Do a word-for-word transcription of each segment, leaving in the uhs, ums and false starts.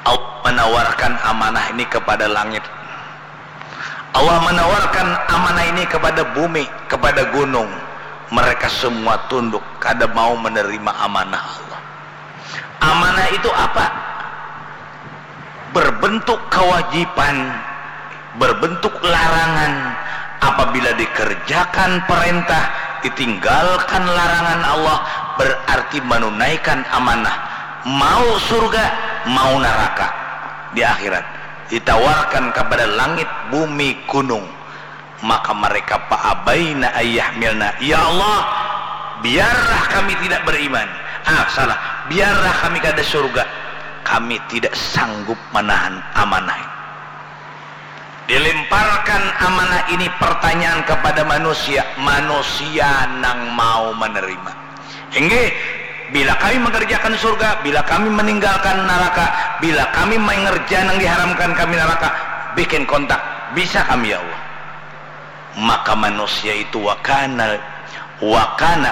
Allah menawarkan amanah ini kepada langit. Allah menawarkan amanah ini kepada bumi, kepada gunung. Mereka semua tunduk, kada mau menerima amanah Allah. Amanah itu apa? Berbentuk kewajiban, berbentuk larangan. Apabila dikerjakan perintah, ditinggalkan larangan Allah, berarti menunaikan amanah. Mau surga, mau neraka di akhirat. Ditawarkan kepada langit, bumi, gunung. Maka mereka, faabaina ayyahmilna. Ya Allah, biarlah kami tidak beriman. Ah, salah. Biarlah kami kada surga. Kami tidak sanggup menahan amanah ini. Dilemparkan amanah ini pertanyaan kepada manusia, manusia nang mau menerima. Inggih, bila kami mengerjakan surga, bila kami meninggalkan neraka, bila kami mengerja nang diharamkan kami neraka, bikin kontak, bisa kami ya Allah. Maka manusia itu wakana, wakana,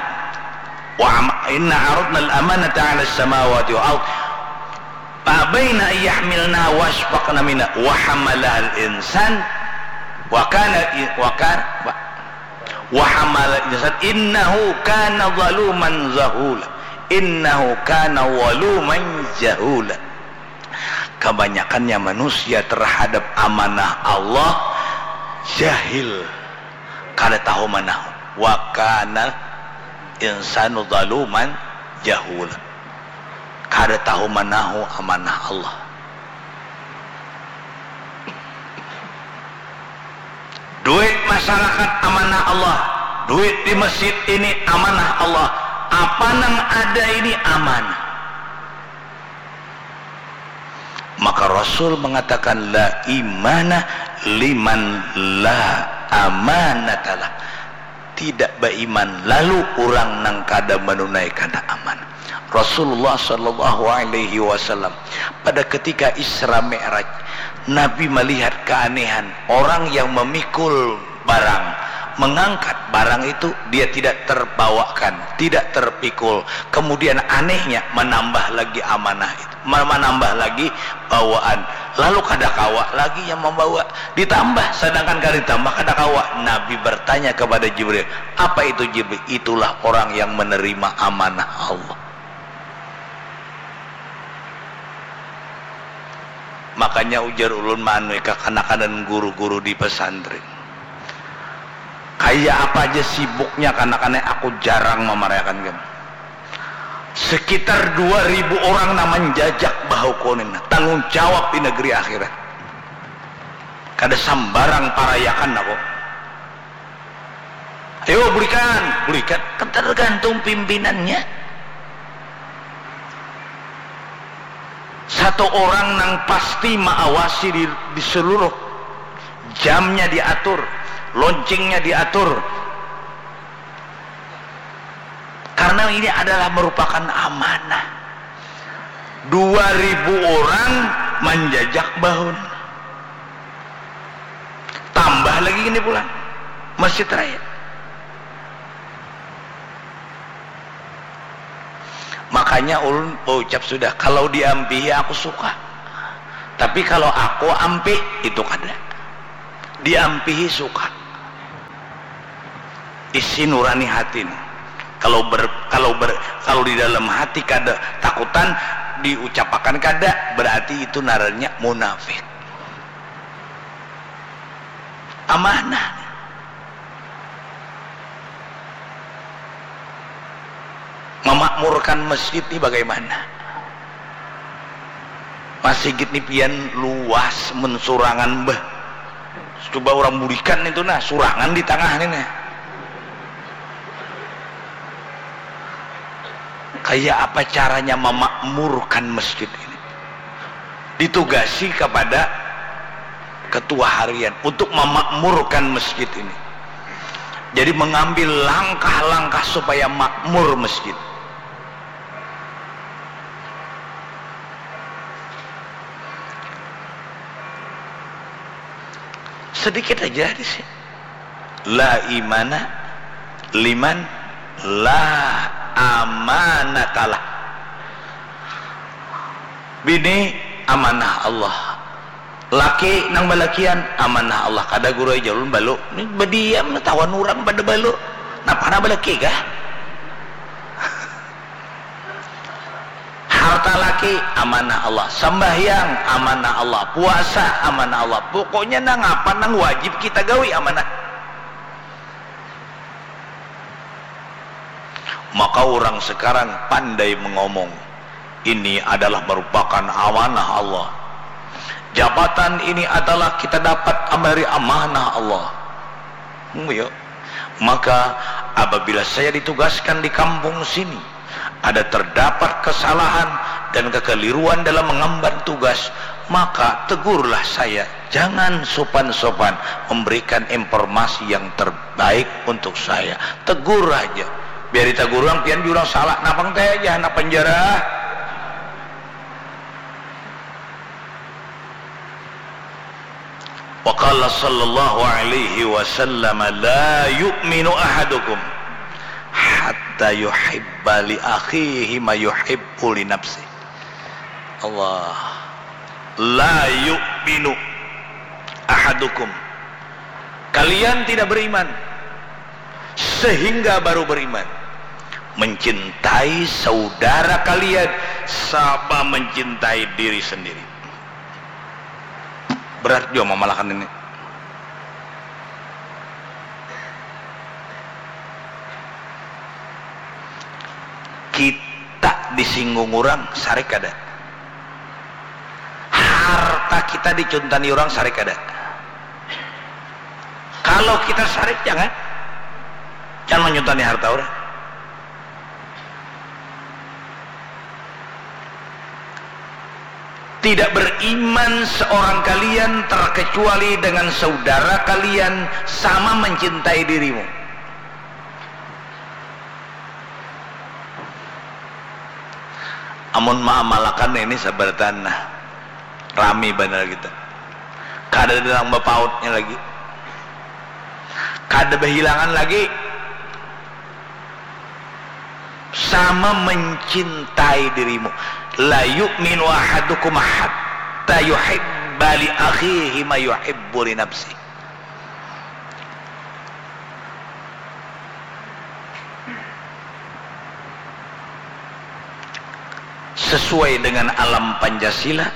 wa am- inna aradna al-amanata ala samawati wal ard, faabaina ayyahmilna wasfaqna minha wa hamalahal insan, wakana, wakana, wa hamalal insan innahu kana zaluman zahula. Innahu kana zaluman jahula. Kebanyakannya manusia terhadap amanah Allah jahil, kada tahu manahu. Wakana insanu zaluman jahula. Kada tahu manahu amanah Allah. Duit masyarakat amanah Allah. Duit di masjid ini amanah Allah. Apa nang ada ini amanah. Maka Rasul mengatakan, la imana liman la amanatalah. Tidak beriman lalu orang nang kada menunaikan amanah. Rasulullah sallallahu alaihi wasallam pada ketika Isra Mi'raj, Nabi melihat keanehan orang yang memikul barang, mengangkat barang itu, dia tidak terbawakan, tidak terpikul. Kemudian anehnya menambah lagi amanah itu, menambah lagi bawaan. Lalu kada kawa lagi yang membawa, ditambah, sedangkan kada ditambah kada kawa. Nabi bertanya kepada Jibril, apa itu Jibril? Itulah orang yang menerima amanah Allah. Makanya ujar ulun maanui kakanakanan guru-guru di pesantren. Kaya apa aja sibuknya kanakanai, aku jarang mamarayakan kami. Sekitar dua ribu orang nang manjajak bahu kuning, tanggung jawab di negeri akhirat. Kada sambarang parayakan aku. Ayo bulikan, bulikan. Kan tergantung pimpinannya. Satu orang nang pasti maawasi di, di seluruh jamnya diatur, launchingnya diatur. Karena ini adalah merupakan amanah. Dua ribu orang manjajak bahun. Tambah lagi ini pulang. Masjid Raya. Makanya ulun baucap sudah, kalau diampihi aku suka. Tapi kalau aku ampih, itu kada. Diampihi suka. Isi nurani hati nih. Kalau ber, kalau ber, kalau di dalam hati kada takutan, diucapakan kada, berarti itu narannya munafik. Amanah. Memakmurkan masjid ini bagaimana? Masigit ni pian luas mensurangan bah. Coba orang bulikan itu nah, surangan di tangah ni nah. Kayak apa caranya memakmurkan masjid ini? Ditugasi kepada ketua harian untuk memakmurkan masjid ini. Jadi mengambil langkah-langkah supaya makmur masjid. Sedikit aja di sini. La imana liman la amanatalah. Bini Amanah Allah. Laki nang balakian, amanah Allah. Kada guru ai jar ulun balu. Ni badiam, tawan urang pada balu. Napa nah balaki kah? Harta laki, amanah Allah. Sambahyang, amanah Allah. Puasa, amanah Allah. Pokoknya nang apa nang wajib kita gawi, amanah. Maka urang sekarang pandai mengomong, ini adalah merupakan amanah Allah. Jabatan ini adalah kita dapat dari amanah Allah. Hmm, ya. Maka apabila saya ditugaskan di kampung sini, ada terdapat kesalahan dan kekeliruan dalam mengemban tugas, maka tegurlah saya. Jangan sopan-sopan memberikan informasi yang terbaik untuk saya. Tegur aja. Biar ditegur urang, pian jua urang salah. Napang teh aja, anak penjara. Wa qala sallallahu alaihi wasallam, "La yu'minu ahadukum hatta yuhibba li akhihi ma yuhibbu li nafsih." Allah. "La yu'minu ahadukum." Kalian tidak beriman sehingga baru beriman. Mencintai saudara kalian sama mencintai diri sendiri. Berat jua mamalakan ini. Kita disinggung urang, sarik kada? Harta kita dicuntani urang, sarik kada? Kalau kita sarik, jangan. Jangan menyuntani harta urang. Tidak beriman seorang kalian terkecuali dengan saudara kalian sama mencintai dirimu. Amun maamalakan ini sabar tanah, rami banar kita. Kada ada nang bapautnya lagi. Kada bahilangan lagi. Sama mencintai dirimu. "La yu'minu ahadukum hatta yuhibba li akhihi ma yuhibbu li nafsih." Sesuai dengan alam Pancasila,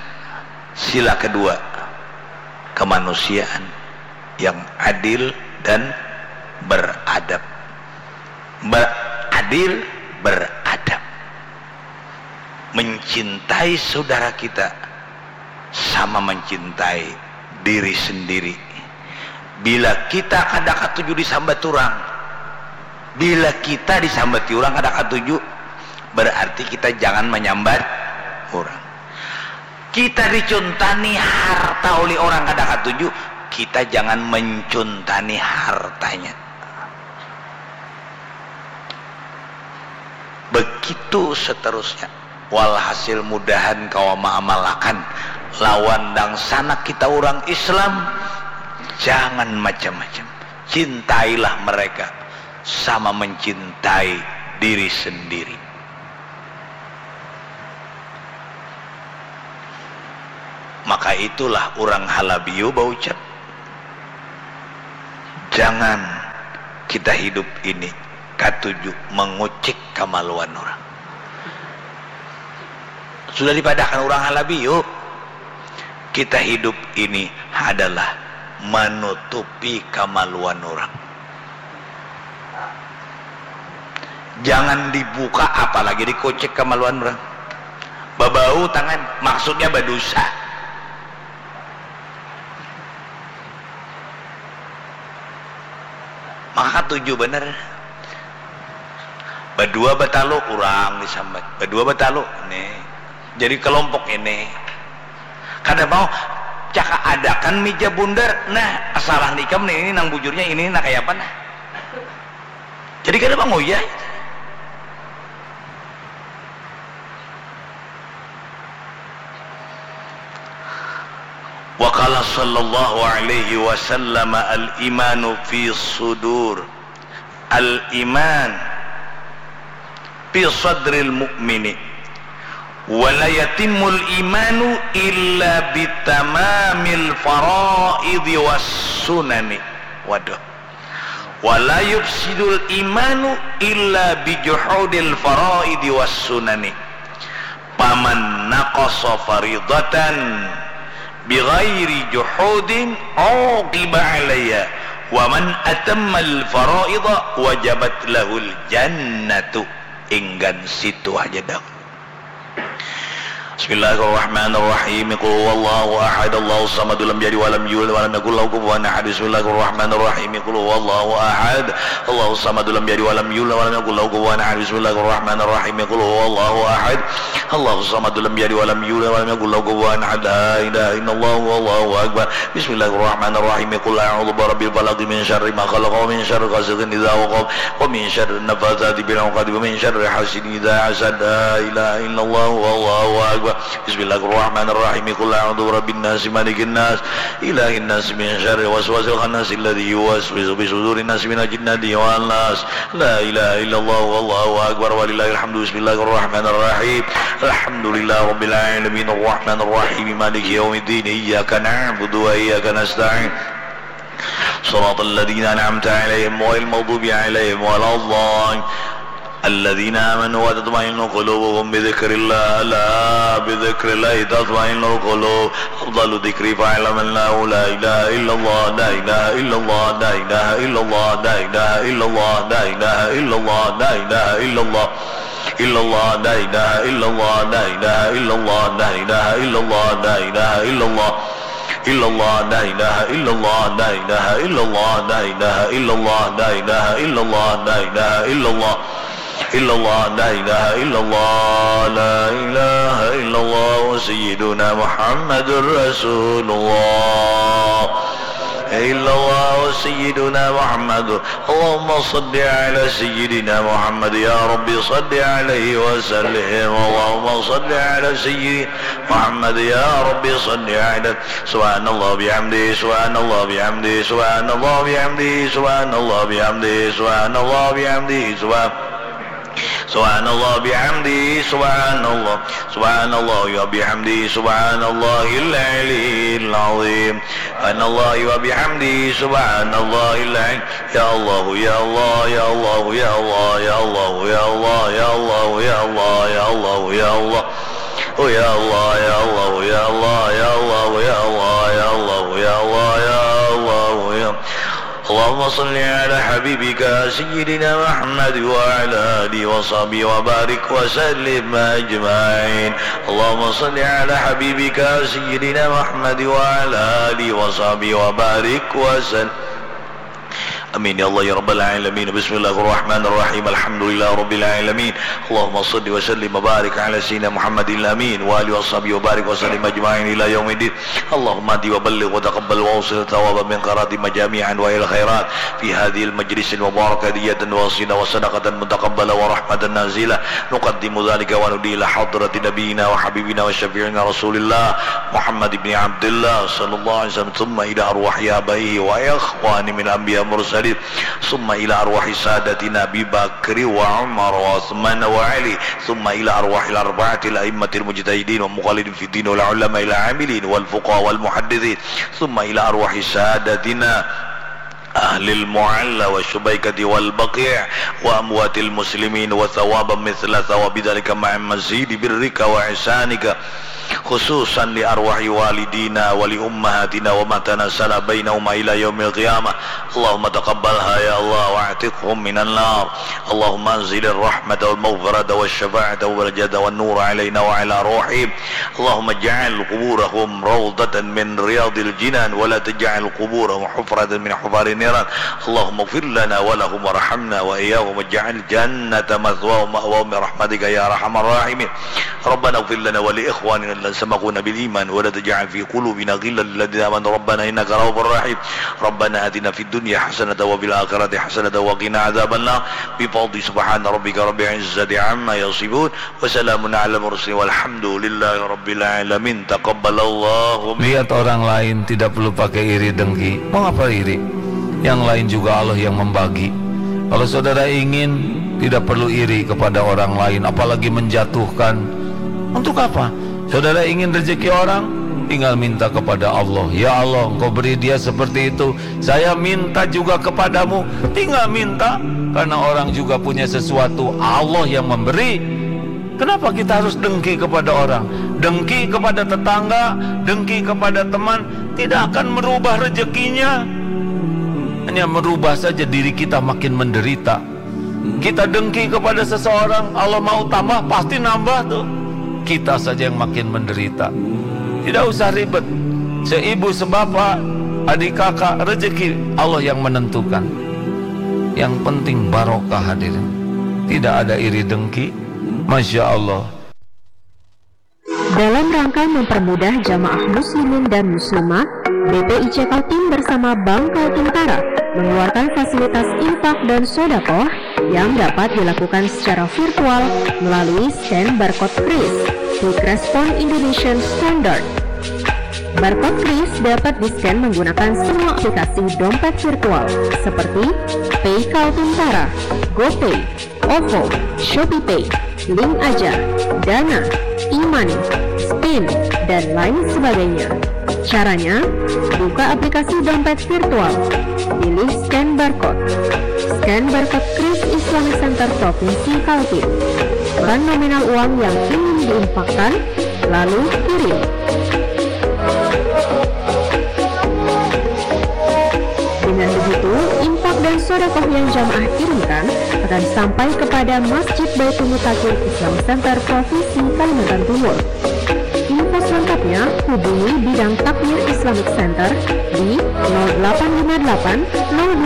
sila kedua, kemanusiaan yang adil dan beradab. Ber-, adil, beradab. Mencintai saudara kita sama mencintai diri sendiri. Bila kita kada katuju disambat urang, bila kita disambati urang kada katuju, berarti kita jangan menyambat urang. Kita dicuntani harta oleh orang kada katuju, kita jangan mencuntani hartanya. Begitu seterusnya. Walhasil, mudahan kawa maamalakan lawan dangsanak kita urang Islam, jangan macam-macam. Cintailah mereka sama mencintai diri sendiri. Maka itulah urang Halabiu baucap, jangan kita hidup ini katuju mengucik kamaluan urang. Sudah dipadahkan urang Halabiu, kita hidup ini adalah menutupi kamaluan urang. Jangan dibuka, apalagi dikucik kamaluan urang. Babau tangan, maksudnya badusa. Maka katuju banar. Badua batalu urang disambat. Badua batalu, ini. Jadi kelompok ini. Kada mau, caka adakan mija bundar. Nah, salah nikam nih, ini nang bujurnya ini, nah, kaya apa nah? Jadi kada manguyah. Wa qala sallallahu alaihi wasallam, "Al-imanu fi sudur." Al-iman fi sadril mu'mini. Wala yatimul imanu illa bitamamil faraidi was sunani. Waduh. Wala yufsidul imanu illa bijuhudil faraidi was sunani. Paman naqasa faridatan bighairi juhudin uqiba alaiha, wa man atammal faraida wajabat lahul jannatu. Inggan situ haja dah. Bismillahirrahmanirrahim. Qul huwallahu ahad, Allahus samad, lam yalid walam yulad walam yakul lahu kufuwan ahad. Bismillahirrahmanirrahim. Qul huwallahu ahad, Allahus samad, lam yalid walam yulad walam yakul lahu kufuwan ahad. Bismillahirrahmanirrahim. Qul huwallahu ahad, Allahus samad, lam yalid walam yulad walam yakul lahu kufuwan ahad. La ilaha illallah, wallahu akbar. Bismillahirrahmanirrahim. Qul a'udzu birabbil falaq, min syarri ma khalaq, wa min syarri ghasiqin idza waqab, wa min syarri nafatsati fil 'uqad, wa min syarri hasidin idza hasad. La ilaha illallah, wallahu akbar. Bismillahirrahmanirrahim. Qul a'udzu birabbin nas, malikin nas, ilahin nas, min syarri waswasil khannas, alladzi yuwaswisu fi sudurin nas, minal jinnati wan nas. La ilaha illallah, wallahu akbar, walillahil hamdu. Bismillahirrahmanirrahim. Alhamdulillahi rabbil alamin, arrahmanirrahim, maliki yaumiddin, iyyaka na'budu wa iyyaka nasta'in. Siratal ladzina an'amta 'alaihim ghairil maghdubi 'alaihim waladdallin. Alladzina amanu wa tatma'innu qulubuhum bidzikrillah, ala bidzikrillahi tatma'innul qulub. Afdalu dzikri fa'lam annahu la ilaha illallah, la ilaha illallah, la ilaha illallah, la ilaha illallah, la ilaha illallah, la ilaha illallah. Illallah, la ilaha illallah, la ilaha illallah, la ilaha illallah, la ilaha illallah. Illallah, la ilaha illallah, la ilaha illallah, la ilaha illallah, la ilaha illallah, la ilaha illallah. Illallah, la ilaha illallah, la ilaha illallah, sayyiduna Muhammadur Rasulullah. Illallah, sayyiduna Muhammadur. Allahumma salli ala sayyidina Muhammad, ya Rabbi salli alaihi wa sallim. Allahumma salli ala sayyidina Muhammad, ya Rabbi salli ala. Subhanallah bihamdi, subhanallah bihamdi, subhanallah bihamdi, subhanallah bihamdi, subhanallah bihamdi, subhan-, subhanallah bihamdi, subhanallah, subhanallah wa bihamdi, subhanallahil aliyil azim. Subhanallah wa bihamdi, subhanallahil azim. Ya Allah, ya Allah, ya Allah, ya Allah, ya Allah, ya Allah, ya Allah, ya Allah, ya Allah, ya Allah. Oh ya Allah, ya Allah, ya Allah, ya Allah, ya Allah, ya Allah, ya Allah, ya Allah, ya. Allahumma salli ala habibika sayyidina Muhammad wa ala alihi wa sahbihi wa barik wa sallim ajma'in. Allahumma salli ala habibika sayyidina Muhammad wa ala alihi wa sahbihi wa barik wa sallim. Amin ya Allah ya rabbal alamin. Bismillahirrahmanirrahim. Alhamdulillah rabbil alamin. Allahumma salli wa sallim wa barik ala sayyidina Muhammadil amin wa alihi wa sahbihi wa barik wa sallim ajma'in ila yaumiddin. Allahumma hdi wa balligh wa taqabbal wa awsil thawaban min qirati majami'an wa il khairat fi hadhil majlisil mubarakah diyatan wasila wa sadaqatan mutaqabbala wa rahmatan nazila. Nuqaddimu dzalika wa nuhdi ila hadrati nabiyina wa habibina wa syafi'ina Rasulillah Muhammad ibni Abdillah sallallahu alaihi wasallam, thumma ila arwahi abaihi wa ikhwani min anbiya mursalin, thumma ila arwahi sadatina Abi Bakri wa Umar wa Uthman wa Ali, thumma ila arwahil arba'atil a'immatil mujtahidin wa muqallidin fid din wal ulama'il amilin wal fuqaha wal muhaddithin, thumma ila arwahi sadatina ahlil mu'alla wa syubaikati wal baqi' wa amwatil muslimin wa thawaban mithla thawabi dzalika ma'a mazidi birrika wa ihsanika, khususan li arwahi walidina wa li ummahatina wa ma tanasala bainahuma ila yaumil qiyamah. Allahumma taqabbalha ya Allah wa atiqhum minan nar. Allahumma anzilir rahmata wal maghfirata wasy syafa'ata wal najata wan nura alaina wa ala ruhihim. Allahumma ij'al quburahum rawdatan min riyadil jinan wa la taj'al quburahum hufratan min hufarin niran. Allahumma ighfir lana wa lahum warhamna wa iyyahum waj'al jannata mathwahum ma'wahum bi rahmatika ya arhamar rahimin. Rabbana ighfir lana wa li ikhwanina alladzina sabaquna bil iman wa la taj'al fi qulubina ghillan lil ladzina amanu rabbana innaka ra'ufur rahim. Rabbana atina fid dunya hasanatan wa fil akhirati hasanatan wa qina adzabannar. Bi fadli subhana rabbika rabbil izzati amma yasifun. Wa salamun alal mursalin walhamdulillahi rabbil alamin. Taqabbalallahu min. Lihat orang lain tidak perlu pakai iri dengki. Mau apa iri? Yang lain juga Allah yang membagi. Kalau saudara ingin, tidak perlu iri kepada orang lain, apalagi menjatuhkan Untuk apa? Saudara ingin rezeki orang? Tinggal minta kepada Allah. Ya Allah, Engkau beri dia seperti itu. Saya minta juga kepadamu. Tinggal minta. Karena orang juga punya sesuatu. Allah yang memberi. Kenapa kita harus dengki kepada orang? Dengki kepada tetangga, dengki kepada teman, tidak akan merubah rezekinya. Hanya merubah saja diri kita makin menderita. Kita dengki kepada seseorang, Allah mau tambah, pasti nambah tuh. Kita saja yang makin menderita. Tidak usah ribet. Seibu, sebapak, adik kakak, rezeki Allah yang menentukan. Yang penting barokah, hadirin. Tidak ada iri dengki. Masya Allah. Dalam rangka mempermudah jamaah muslimin dan muslimah, B P I C Kaltim bersama Bank Kaltim Tara mengeluarkan fasilitas infak dan sodakoh yang dapat dilakukan secara virtual melalui scan barcode kris, Quick Response Indonesian Standard. Barcode kris dapat di-scan menggunakan semua aplikasi dompet virtual seperti Pay Kaltim Tara, GoPay, OVO, ShopeePay, Link Aja, Dana, e-money, Spin, dan lain sebagainya. Caranya, buka aplikasi dompet virtual, pilih scan barcode. Scan barcode kris Islamic Center Provinsi Kaltim. Masukkan nominal uang yang ingin diinfakkan, lalu kirim. Dengan begitu, infak dan sodakoh yang jamaah kirimkan akan sampai kepada Masjid Baitul Mutakin Islamic Center Provinsi Kalimantan Timur. Info selengkapnya hubungi bidang takmir Islamic Center di nol delapan lima delapan nol dua